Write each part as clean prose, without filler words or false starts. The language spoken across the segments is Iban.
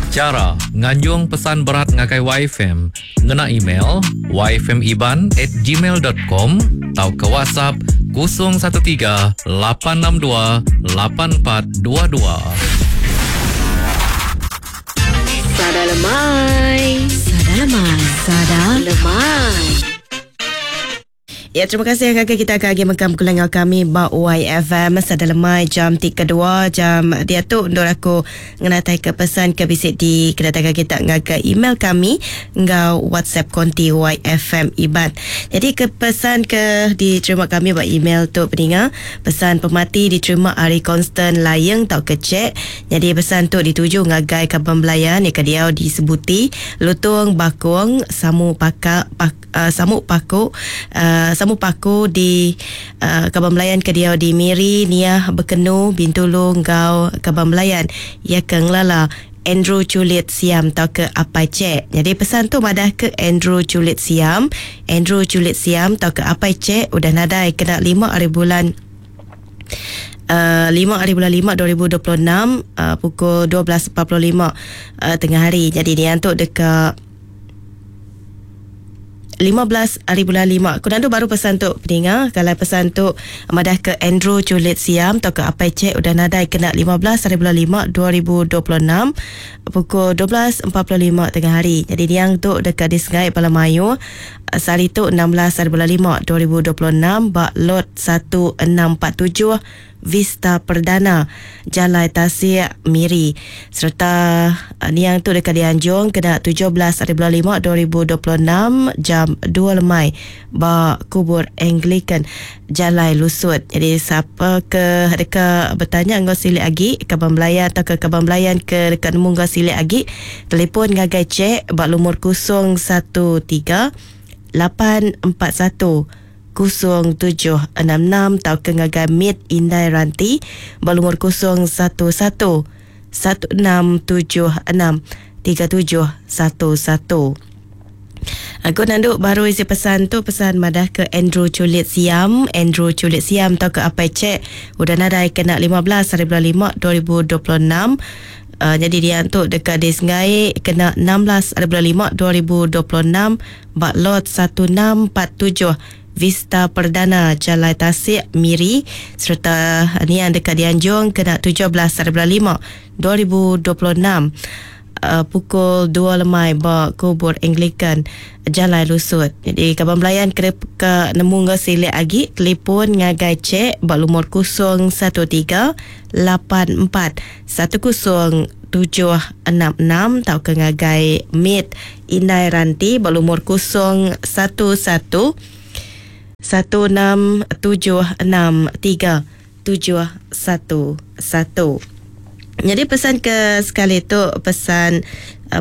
Chara nganjung pesan berat ngagai YFM ngena email yfmiban at gmail dot com tauka WhatsApp 013 862 8422. Sada lemai. Sada lemai. Sada lemai. Ya, terima kasih ngagai kita ke agi mengkang begulai enggau kami ba YFM sada lemai jam ti kedua jam diatu endur aku ngenatai ke pesan ke bisi di kenatai ke kita ngagai email kami enggau WhatsApp konti YFM Iban. Jadi ke pesan ke diterima kami ba email tu peninga, pesan pemati diterima ari Constant Layeng tauka Cek. Nyadi pesan tu dituju ngagai kaban belayan iya ke diau di Sebuti, Lutong Bakong, Samu Paka Pak Samu Paku Samu Paku di Kaban Belayan ke diau di Miri, Niah, Bekenu, Bintulu enggau Kaban Belayan iya ke ngelala Andrew Chulit Siam tauka Apai Chek. Nyadi pesan tu madah ke Andrew Chulit Siam, Andrew Chulit Siam tauka Apai Chek udah nadai kena lima hari bulan lima hari bulan lima 2026 pukul 12.45 tengah hari. Nyadi niang tu deka 15 ari bulan lima. Ku nandu baru pesan tu peninga, kalai pesan tu madah ke Andrew Chulit Siam tauka Apai Chek udah nadai kena 15 ari bulan lima 2026 pukul 12.45 tengah hari. Nyadi niang tu deka disengai bala mayuh sehari tu 16 ari bulan lima 2026 ba Lot 1647 Vista Perdana, Jalai Tasik, Miri. Sereta niang tu deka dianjung kena 17 ari bulan lima 2026 jam dua lemai ba Kubur Anglican, Jalai Lusut. Nyadi sapa ke deka betanya enggau silik agi, kaban belayan tauka kaban belayan ke deka nemu enggau silik agi, telefon ngagai Chek ba lumur 013 841 0766 tauka ngagai Mit Indai Ranti ba lumur 011 1676 3711. Aku nandu baru isi pesan tu pesan madah ke Andrew Chulit Siam, Andrew Chulit Siam tauka Apai Chek udah nadai kena 15 hari bulan 5 2026. Nyadi dia tu deka disengai kena 16 hari bulan 5 2026 ba Lot 1647 Vista Perdana Jalai Tasik, Miri sereta niang deka dianjung kena 17 hari bulan 5 2026 pukul dua lemai ba Kubur Anglican Jalai Lusut. Nyadi kaban belayan ke deka nemu enggau silik agi telefon ngagai Chek ba lumur 013 84 10 766 tauka ngagai Mit Indai Ranti ba lumur 011 1676 3711. Nyadi pesan ke sekali tu pesan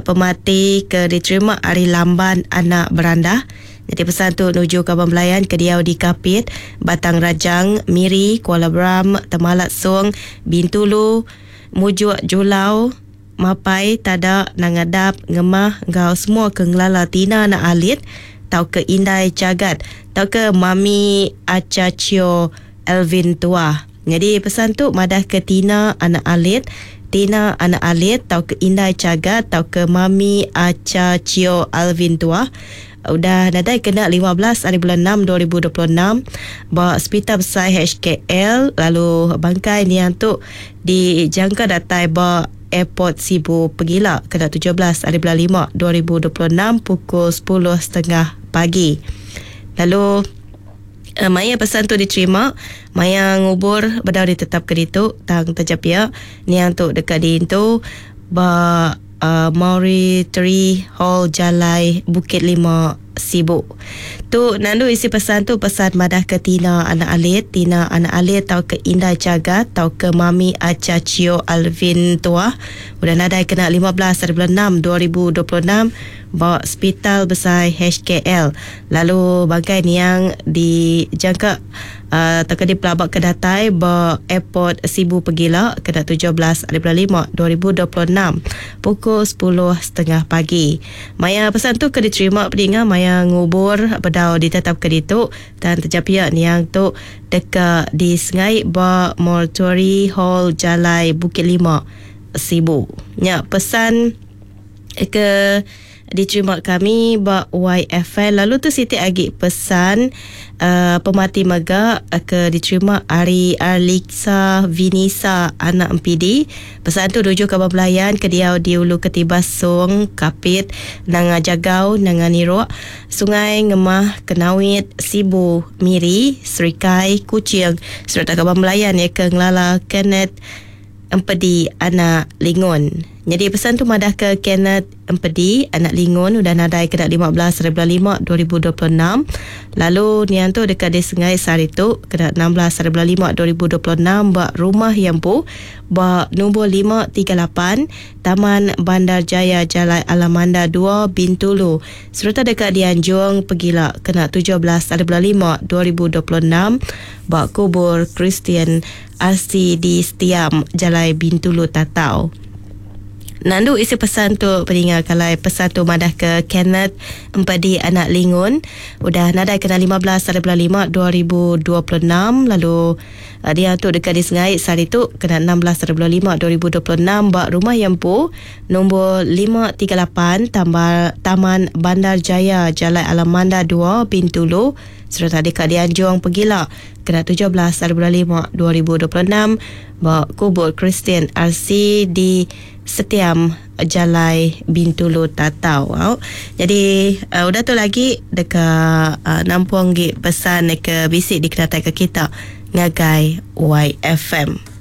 pemati ke diterima ari Lamban Anak Berandah. Nyadi pesan tu nuju kaban belayan ke diau di Kapit, Batang Rajang, Miri, Kuala Beram, Temalat Song, Bintulu, Mujuk Julau, Mapai, Tada, Nangadap, Ngemah enggau semua ke ngelala Tina Anak Alit tauka Indai Chagat tauka Mami Acha Chio Alvin Tuah. Nyadi pesan tu madahka Tina Anak Alit, Tina Anak Alit tauka Indai Chagat tauka Mami Acha Chio Alvin Tuah udah nadai kena 15 ari bulan 6 2026 ba Sepital Besai HKL lalu bangkai niang tu dijangka datai ba Airport Sibu pegila kena 17 ari bulan 5 2026 pukul 10.30 pagi. Lalu maya pesan tu diterima, maya ngubur bedau ditetapka ditu tang taja pia niang tu deka diintu ba Mortuary Hall Jalai Bukit Lima Sibu. Tu nandu isi pesan tu pesan madahka Tina anak Alit, Tina anak Alit tauka Indai Chagat tauka Mami Acha Chio Alvin Tuah udah nadai kena 15 ari bulan 6 2026 ba Sepital Besai HKL lalu bangkai niang dijangka tauka dipelabaka datai ba Airport Sibu pegila kena 17 ari bulan 5 2026 pukul 10.30 pagi. Maya pesan tu ke diterima pedinga maya ngubur bedau ditetapka ditu tang taja pia niang tu deka disengai ba Mortuary Hall Jalai Bukit Lima, Sibu. Nya pesan. ke diterima kami ba YFM. Lalu tu siti agi pesan pemati mega ke diterima ari Arlixa Vinisa anak MPD. Pesan tu tuju ke belayan ke diau di Ulu Ketibas Song, Kapit, Nanga Jagau, Nanga Nirok, Sungai Ngemah, Kenawit, Sibu, Miri, Serikai, Kuching serta kaban belayan ya ke ngelala Kenneth Empedi anak Lingon. Jadi pesan tu madah ke Kenneth Empedi anak Lingon udah nadai kena 15 5 2026. Lalu nian tu dekat di Sungai Sari tu kena 16 5 2026 ba rumah Yampu ba nombor 538 Taman Bandar Jaya Jalai Alamanda 2 Bintulu serta dekat dianjung Pegila kena 17 5 2026 ba kubur Kristian RC di Setiam Jalai Bintulu Tatau. Nandu isi pesan tu peninga kalai pesan tu madah ke Kenneth Empedi anak Lingun udah nadai kena 15 5 2026 lalu dia tu dekat di Sengai sehari tu kena 16 5 2026 ba rumah Yempu nombor 538 Tambal, Taman Bandar Jaya Jalai Alamanda 2 Bintulu serta dekat dianjung Pegila kena 17 5 2026 ba kubur Kristian RC di Setiam Jalai Bintulu Tatau. Au. Jadi udah tu lagi dekat nampung gi pesan ke bisi dikenatai ke kita ngagai YFM.